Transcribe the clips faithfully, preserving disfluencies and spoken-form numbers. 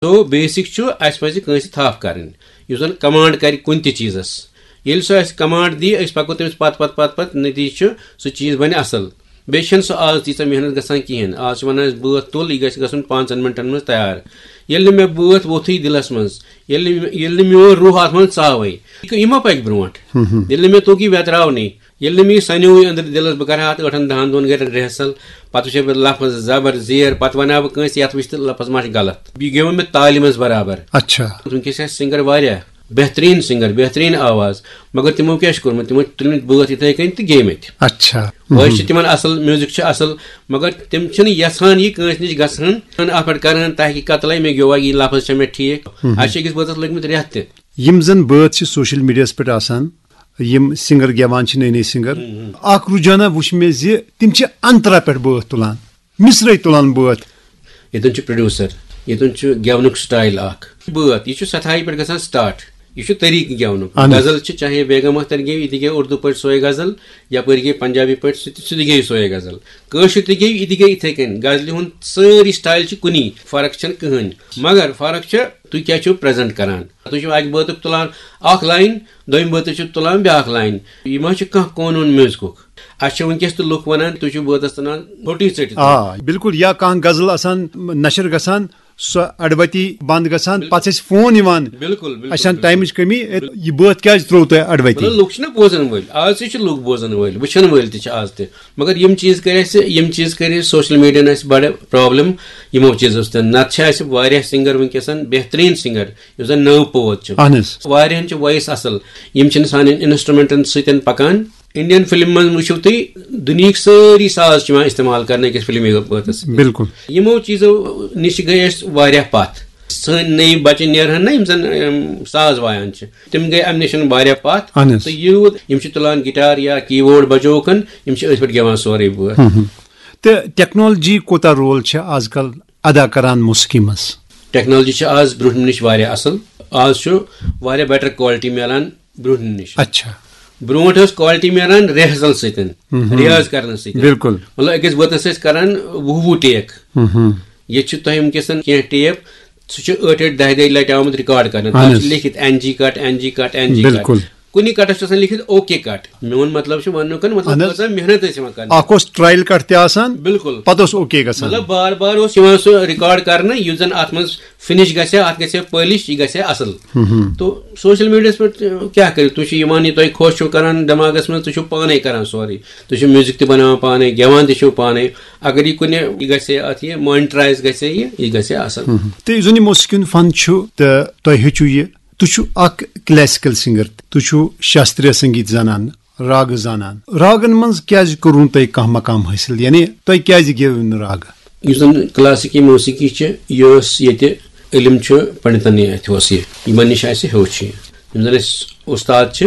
تو basic چھُ، اَسہِ پَزِ کٲنٛسہِ تھپھ کَرٕنۍ، یُس زَن کمانڈ کَرِ کُنہِ تہِ چیٖزَس۔ ییٚلہِ سُہ اَسہِ کمانڈ دی، أسۍ پَکو تٔمِس پَتہٕ پَتہٕ پَتہٕ پَتہٕ، نٔتیٖجہٕ چھُ سُہ چیٖز بَنہِ اَصٕل۔ بیٚیہِ چھَنہٕ سُہ آز تیٖژاہ محنت گژھان کِہیٖنۍ۔ آز چھِ وَنان أسۍ بٲتھ تُل، یہِ گژھِ گژھُن پانٛژَن مِنٹَن منٛز تیار۔ ییٚلہِ نہٕ مےٚ بٲتھ ووٚتھُے دِلَس منٛز، ییٚلہِ نہٕ، ییٚلہِ نہٕ میون روح اَتھ منٛز ژاوٕے، یہِ مہ پَکہِ برونٛٹھ۔ ییٚلہِ نہٕ مےٚ توٚگ یہِ ویتراونٕے، ییٚلہِ نہٕ مےٚ یہِ سَنیووُے أنٛدرٕ دِلَس، بہٕ کَرٕ ہا اَتھ ٲٹھَن دَہَن دۄہَن گَرِ رِہرسَل، پَتہٕ وٕچھِ ہا بہٕ لفظ زبر زیر، پَتہٕ وَنہٕ ہا بہٕ کٲنٛسہِ یَتھ وٕچھ تہٕ لفظ ما چھِ غلط۔ یہِ گیوٚو مےٚ تالہِ منٛز برابر۔ اچھا۔ وٕنکیٚس چھِ اَسہِ سِنٛگَر واریاہ، بہتریٖن سِنٛگَر، بہتریٖن آواز، مگر تِمو کیٛاہ چھُ کوٚرمُت؟ تِمو چھِ تُلمٕتۍ بٲتھ یِتھَے کٔنۍ تہٕ گیٚمٕتۍ۔ اچھا۔ وٲے چھِ تِمَن اَصٕل، میوٗزِک چھُ اَصٕل، مگر تِم چھِنہٕ یَژھان یہِ کٲنٛسہِ نِش گژھان، اَتھ پٮ۪ٹھ کَران تحقیٖق قتلَے، مےٚ گیوٚوا یہِ لفظ چھا مےٚ ٹھیٖک؟ اَسہِ چھِ أکِس بٲتَس لٔگمٕتۍ رٮ۪تھ تہِ۔ یِم زَن بٲتھ چھِ سوشل میٖڈیاہَس پٮ۪ٹھ آسان، یِم سِنٛگَر گٮ۪وان چھِ، نٔے نٔے سِنٛگَر، اَکھ رُجحانا وُچھ مےٚ زِ تِم چھِ اَنترا پٮ۪ٹھ بٲتھ تُلان، مِصرَے تُلان بٲتھ۔ ییٚتٮ۪ن چھُ پروڈیوسر، ییٚتٮ۪ن چھُ گٮ۪ونُک سٹایل اَکھ۔ بٲتھ، یہِ چھُ سَتھایہِ پٮ۪ٹھ گژھان سٹارٹ۔ یہِ چھُ طریٖقہٕ گٮ۪ونُک۔ اَہَن حظ۔ غزل چھِ، چاہے بیگم اختر گٮ۪وِ، یہِ تہِ گٮ۪وِ اردو پٲٹھۍ سوے غزل، یَپٲرۍ گٮ۪وِ پنجابی پٲٹھۍ، سُہ تہِ، سُہ تہِ گٮ۪وِ سوے غزل۔ کٲشُر تہِ گٮ۪وِ، یہِ تہِ گٮ۪وِ یِتھَے کٔنۍ۔ غزلہِ ہُنٛد سٲری سٹایل چھِ کُنی، فرق چھَنہٕ کٕہٕنۍ۔ مگر فرق چھِ، تُہۍ کیٛاہ چھِو پریزنٹ کران۔ تُہۍ چھِو اَکہِ بٲتُک تُلان اَکھ لاین، دوٚیِمہِ بٲتٕچ چھِو تُلان بیٛاکھ لاین۔ یہِ ما چھُ کانٛہہ قونوٗن میوٗزکُک؟ اَسہِ چھِ وٕنکیٚس تہِ لُکھ وَنان، تُہۍ چھِو بٲتَس تُلان فوٹی ژٔٹِتھ۔ آ، بِلکُل۔ یا کانٛہہ غزل آسان نشر گژھان، سۄ اَڈٕوَتی بنٛد گژھان، بِل-، پَتہٕ چھِ اَسہِ فون یِوان، بِلکُل، بِلکُل، اَسہِ چھَنہٕ بِلکُل۔ ٹایمٕچ کٔمی، بِل-، یہِ بٲتھ کیٛازِ ترٛوو تۄہہِ اَڈٕوَتی؟ مطلب، لُکھ چھِنہ بوزَن وٲلۍ، آز تہِ چھِ لُکھ بوزَن وٲلۍ، وٕچھَن وٲلۍ تہِ چھِ آز تہِ۔ مگر یِم چیٖز کٔرۍ اَسہِ، یِم چیٖز کٔرۍ اَسہِ سوشل میٖڈیاہَن اَسہِ بَڑٕ پرابلم یِمو چیٖزو سۭتۍ۔ نَتہٕ چھِ اَسہِ واریاہ سِنٛگَر وٕنکیٚس، بہتریٖن سِنٛگَر، یُس زَن نٔو پوت چھِ۔ اَہَن حظ۔ واریاہَن چھِ وایِس اَصٕل، یِم چھِنہٕ سانٮ۪ن انسٹرومنٹَن سۭتۍ پَکان۔ انڈین فلم منٛز وٕچھِو تُہۍ، دُنیہٕکۍ سٲری ساز چھِ یِوان استعمال کرنہٕ أکِس فلمی بٲتَس سۭتۍ۔ بِلکُل۔ یِمو چیٖزو نِش گٔے أسۍ واریاہ پَتھ۔ سٲنۍ نٔے بَچہٕ نیرہَن نہ، یِم زَن، اَم، ساز وایان چھِ، تِم گٔے اَمہِ نِش واریاہ پَتھ۔ اَہَن حظ۔ تہٕ یوٗت یِم چھِ تُلان گِٹار یا کیٖبورڈ بجوکَن، یِم چھِ أتھۍ پٮ۪ٹھ گٮ۪وان سورُے بٲتھ۔ ہُم، ہُم۔ تہٕ ٹیکنالوجی کوٗتاہ رول چھِ آز کل ادا کران موسیقی منٛز؟ ٹیکنالوجی چھِ آز برٛونٛہمہِ نِش واریاہ اَصٕل۔ آز چھُ واریاہ بیٹر کوالٹی میلان برٛونٛہمہِ نِش۔ اچھا۔ برٛونٛٹھ ٲس کوالٹی میلان ریہرسل سۭتۍ، مہم۔ ریاض کرنہٕ سۭتۍ۔ بِلکُل۔ مطلب، أکِس بٲتَس ٲسۍ کران وُہ وُہ ٹیک۔ مہم۔ ییٚتہِ چھِ تۄہہِ وٕنکیٚس کینٛہہ ٹیپ، سُہ چھُ ٲٹھِ ٲٹھِ دَہہِ دَہہِ لَٹہِ آمُت ریکارڈ کرنہٕ۔ اَہَن تَتھ چھِ حظ۔ لیکھِتھ این جی کٹ، این جی کٹ، این جی کٹ۔ بِلکُل۔ کُنہِ کٹس چھُ آسان لیکھِتھ اوکے کٹ۔ میون مطلب چھُ وننُک، مطلب، اَہَن حظ۔ کۭژاہ محنت ٲسۍ یِوان کرنہٕ۔ اکھ اوس ٹرایل کٹ تہِ آسان، بِلکُل۔ پتہٕ اوس اوکے گژھان۔ مطلب، بار بار اوس یِوان سُہ ریکارڈ کرنہٕ، یُس زن اتھ منٛز فنش گژھِ ہا، اتھ گژھِ ہا پٲلِش، یہِ گژھِ ہا اصل۔ ہُم، ہُم۔ تو سوشل میڈیاہس پٮ۪ٹھ، اہ، کیٛاہ کٔرِو؟ تُہۍ چھِو یِوان، یہِ تۄہہِ خۄش چھُو کران دٮ۪ماغس منٛز، تُہۍ چھِو پانے کران سورُے۔ تُہۍ چھِو میوٗزک تہِ بناوان پانے، گٮ۪وان تہِ چھِو پانے۔ اگر یہِ کُنہِ، یہِ گژھِ ہے اتھ، یہِ مونٹرایز گژھِ ہے، یہِ، یہِ گژھِ ہے اصل۔ ہُم، ہُم۔ تہٕ یُس زن یہِ موسیقی ہُنٛد فن چھُ، تہٕ تۄہہِ ہیٚچھِو یہِ، تُہۍ چھِو اکھ کلاسیکل سنگر، تُہۍ چھِو شاستریہ سنگیت زانان، راگہٕ زانان۔ راگن منٛز کیٛازِ کوٚروٕ تۄہہِ کانٛہہ مقام حٲصِل؟ یعنی تۄہہِ کیٛازِ گیوٕ نہٕ راگہٕ؟ یُس زن کلاسیکی موسیقی چھِ، یہِ ٲس ییٚتہِ علم چھُ پنڈتن اَتھِ اوس یہِ، یِمن نِش اَسہِ ہیوٚچھ یہِ۔ یِم زن اَسہِ اُستاد چھِ،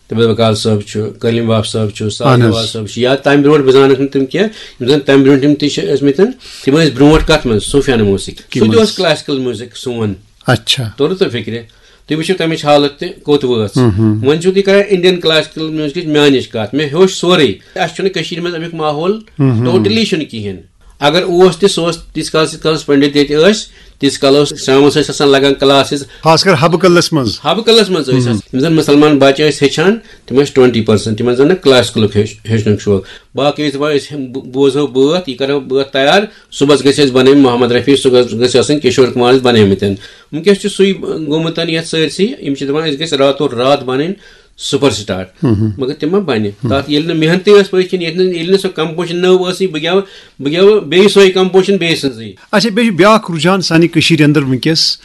تبیل بکال صٲب چھُ، کلیم واب صٲب چھُ، ساز اہن حظ۔ نواز صٲب چھُ، یا تَمہِ برونٛٹھ بہٕ زانَکھ نہٕ تِم کینٛہہ، یِم زن تَمہِ برونٛٹھ یِم تہِ چھِ ٲسمٕتۍ، تِم ٲسۍ برونٛٹھ کتھ منٛز؟ صوفیانہٕ موسیقی۔ کہِ سُہ تہِ منٛز؟ اوس کلاسیکل میوٗزک سون۔ اچھا۔ توٚرُو تۄہہِ فِکرِ؟ تُہۍ وٕچھِو تَمِچ حالت تہِ کوٚت وٲژ۔ ہُم، ہُم۔ وۄنۍ چھِو تُہۍ کران انڈین کلاسیکل میوٗزکٕچ میٛانِچ کَتھ۔ مےٚ ہیوٚچھ سورُے۔ اَسہِ چھُنہٕ کٔشیٖرِ منٛز اَمیُک ماحول ہُم، ہُم۔ ٹوٹلی چھُنہٕ کِہیٖنۍ۔ اگر اوس تہِ، سُہ اوس تیٖتِس کالَس، ییٖتِس کالَس پنڈت ییٚتہِ ٲسۍ، تیٖتِس کالَس شامَس ٲسۍ آسان لگان کلاسز۔ خاص کر حبہٕ کلس منٛز۔ حبہٕ کلس منٛز ٲسۍ ہُم۔ آسان۔ یِم زَن مُسلمان بَچہٕ ٲسۍ ہیٚچھان، تِم ٲسۍ ٹُوَنٹی پٔرسَنٛٹ۔ تِمَن زَن نہٕ کلاسیکلُک ہیٚچھ-، ہیٚچھنُک شوق۔ باقٕے ٲسۍ دَپان، أسۍ ہٮ۪م-، بہٕ، بہٕ بوزہو بٲتھ، یہِ کَرو بٲتھ تیار، صُبحَس گژھِ اَسہِ بَنٕنۍ محمد رفیع، صُبحَس گژھِ آسٕنۍ کِشور کُمار اَسہِ بَنٲومٕتۍ۔ وٕنکیٚس چھُ سُے گوٚمُت یَتھ سٲرسٕے، یِم چھِ دَپان، أسۍ گژھِ راتو راتھ بَنٕنۍ سُپر سٹار۔ ہُم، ہُم۔ مگر تِم ما بَنہِ؟ ہُم۔ تَتھ ییٚلہِ نہٕ محنتٕے ٲس پٔتۍ کِنۍ، ییٚلہِ نہٕ، ییٚلہِ نہٕ سۄ کمپوزیشن نٔو ٲسٕے، بہٕ گٮ۪وٕ، بہٕ گٮ۪وٕ بیٚیہِ سۄے کمپوزیشن بیٚیہِ سٕنٛزٕے۔ اچھا، بیٚیہِ چھُ بیٛاکھ رُجحان سانہِ کٔشیٖرِ اندر وٕنکیٚس،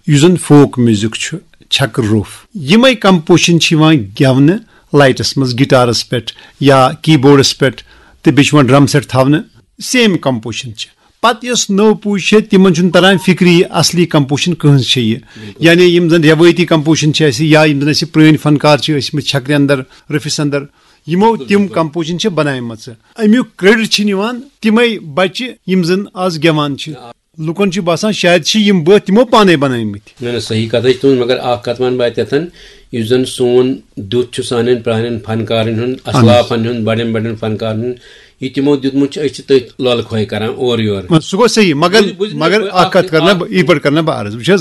یُس زن فوک میوٗزک چھُ، چھکہٕ روٚف۔ یِمے کمپوزیشن چھِ یِوان گٮ۪ونہٕ لایٹس منٛز، گٹارس پٮ۪ٹھ یا کیٖبورڈس پٮ۪ٹھ، تہٕ بیٚیہِ چھُ یِوان ڈرم سیٹ تھاونہٕ، سیم کمپوزیشن چھِ۔ پتہٕ یۄس نٔو پُے چھےٚ، تِمن چھُنہٕ تران فکرِ یہِ اصلی کمپوزیشن کٕہٕنٛز چھےٚ یہِ۔ بِلکُل۔ یعنی یِم زن رٮ۪وٲیتی کمپوزیشن چھِ اَسہِ، یا یِم زن اَسہِ پرٛٲنۍ فنکار چھِ ٲسۍ مٕتۍ چھکرِ اندر، روٚفِس اندر، یِمو بِلکُل، تِم بِلکُل۔ کمپوزیشن چھِ بناومژٕ۔ امیُک کریڈٹ چھُنہٕ یِوان تِمے بچہِ، یِم زن آز گٮ۪وان چھِ۔ آ۔ لُکن چھُ باسان شاید چھِ یِم بٲتھ تِمو پانے بنٲومٕتۍ۔ نہ، نہ، صحیح کتھ چھِ تُہنٛز، مگر اکھ کتھ ونہٕ بہٕ اتٮ۪تھ، یُس زن سون دیُت چھُ سانٮ۪ن پرٛانٮ۪ن فنکارن ہُنٛد، اہن حظ۔ اسلافن ہُنٛد، بڑٮ۪ن بڑٮ۪ن فنکارن ہُنٛد، یہِ تِمو دیُتمُت چھُ، أسۍ چھِ تٔتھۍ لۄلہٕ کھوے کران اورٕ یورٕ۔ سُہ گوٚو صحیح، مگر، بوٗزِو، بوٗزِو، مگر بہٕ اکھ اکھ کتھ کرٕ نا اکھ بہٕ، یِتھ پٲٹھۍ کرٕ نا بہٕ عرض، وٕچھ حظ،